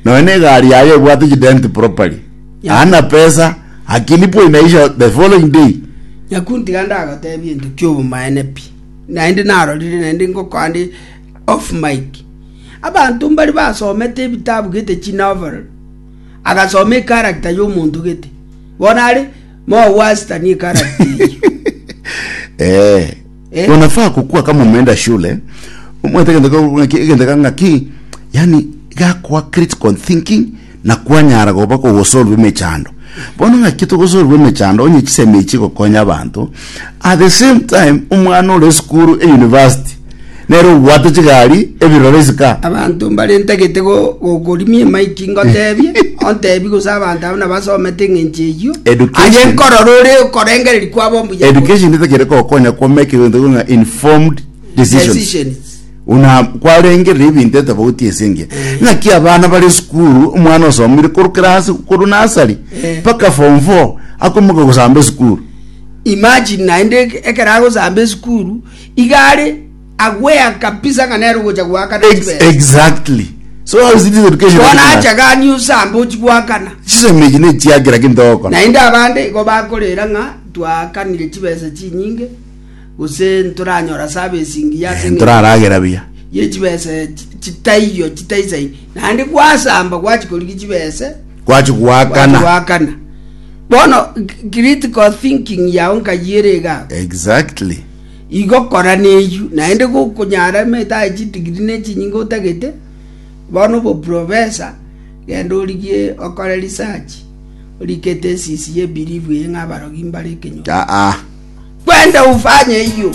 Nonya na egari yaye ebwate chident properly. Hana pesa, akilipwa inaisha the following day. Nyakundi tiga ndagotebie egento ki'obomaene pi, naende narorire naende ngokoa nde off mic. Abanto mbare basomete ebitabu gete chinovel, agasoma echaracter ya omonto gete, bono are more worse than echaracter eyio. Eh. Eh. Unafaa kukua kama umeenda shule omwete egento ka- ng'aki- egento ka ng'aki yani gakoa critical thinking na kwanyara goba kogosolve emechando bono ng'aki togosolve emechando onye chisemi echi chigokonya abanto at the same time omwana ore esukuru e university nere obwate chigari ebirore isika Abanto mbare ntagete go- gokorimia emaiki ngotebie, ontebie gose abanto abwo nabasomete eng'encho eyio. Education. Aye nkorora ore okorengereria kwabo mbuya kore. Education etakere kogokonya kwa make egento ng'a informed decisions. Decisions. Una kwarengereria ebinto etofauti ase engiya. Ng'aki abana bare esukuru, omwana osomire korwa class korwa nursery Eh. mpaka form 4 akomoka gosamba esukuru. Imagine naende ekero agosamba esukuru, iga are aware kabisa ng'a nere ogocha goakana Ex chibesa. exactly. So how is this education? Bono acha gani osambe ochie goakana. Chisemi echi nechiakera kinto ogokora. Naende abande igo bakorera ng'a twaakanire chibesa chinyinge, gose ntoranyora service engiya ase eng'encho Ntoraragera buya. ye chibesa chi- chitaiyo chitaisaini. Naende gwasamba gwachia korigia chibesa, Gwachia gwachia goakana. goakana. Bono critical thinking yao nkai ere iga abwo. Exactly. Igo kora neyio, naende gokonyara emete aye chidigiri ne chinyinge otagete, bono oboprofesa, genda origie okore research, orike ethesis ye belief eye ng'a abarogi mbare ekenyoro. Aa. Kwenda ufanye eyio.